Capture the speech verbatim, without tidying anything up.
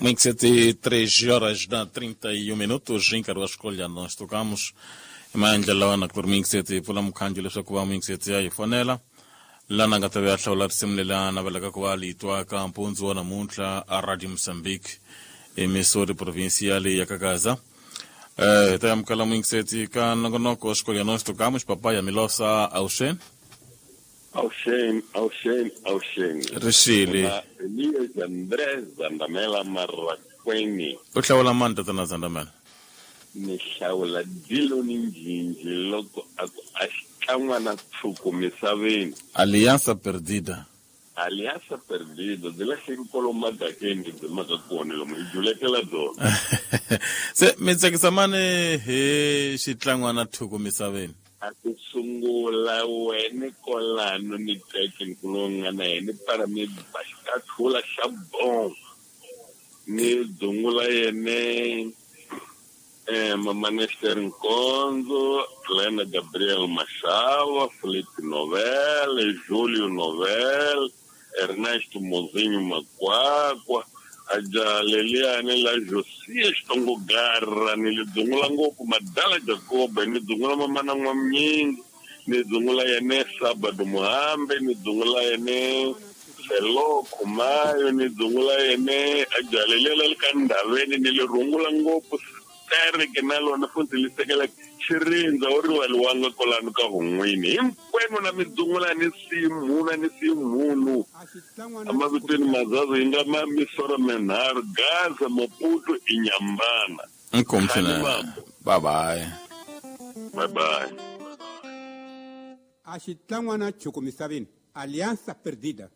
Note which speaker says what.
Speaker 1: Muito três horas da trinta e um minutos, nkarhi wa xikolo nós tocamos maendlelo lawa na ku ri mixeti pfula mukhanjo leswaku va mixeti ya hi fonela lana nga ta ve a hlawula risimu leri a navelaka ku va litwa ka mpundzu wa namuntlha a Radio Mozambique emisori provincial ya Kagaza. Eh, hi ta amukela mixeti ka nongonoko wa xikolo nós tocamos papai ya Milosa Auxen.
Speaker 2: Auxen, Auxen, Auxen.
Speaker 1: Rixile.
Speaker 2: Elias Andrés Zandamela Marrakweni.
Speaker 1: U hlawula mani tatana Zandamela?
Speaker 2: Ni hlawula Dilo ni Njinji loko a ku a xikan'wana tshuku misaveni.
Speaker 1: Alianza Perdida.
Speaker 2: Alianza Perdida byi lahleki kwalomu madakeni byi maka kona lomu hi julekela byona.
Speaker 1: Se mi tsakisa mani hi xitlangwana thuku misaveni?
Speaker 2: A ku sungula wena kolano ni teke nkulu nga na yena para mi ba xikathula xa bom ni dzungula yene eh Mama Nester Nkonzo, Lena Gabriel Machava, Felipe Novel, Júlio Novel, Ernesto Mozinho Makwakwa, aja Leliane la Josias Tongogarra, ni dzungula ngopfu Madala Jacob, ni dzungula mama na N'wamnyingi, ni dzungula yene Sabado Muhambe, ni dzungula yene Selo Khumayo, ni dzungula yene aja Lelela ka Ndaveni, ni le rungula ngopfu tereke na lona futhi li sekela xirindza u rivaliwanga kwalano ka hun'wini hinkwenu na mi dzungula ni simhuna ni simhunu emavitweni mazazi yi nga ma misoro minharhu Gaza, Maputo, Inyambana.
Speaker 1: Inkomu swinene. Bye bye.
Speaker 2: Bye bye.
Speaker 3: A xitlangwana chuku misaveni Alianza Perdida.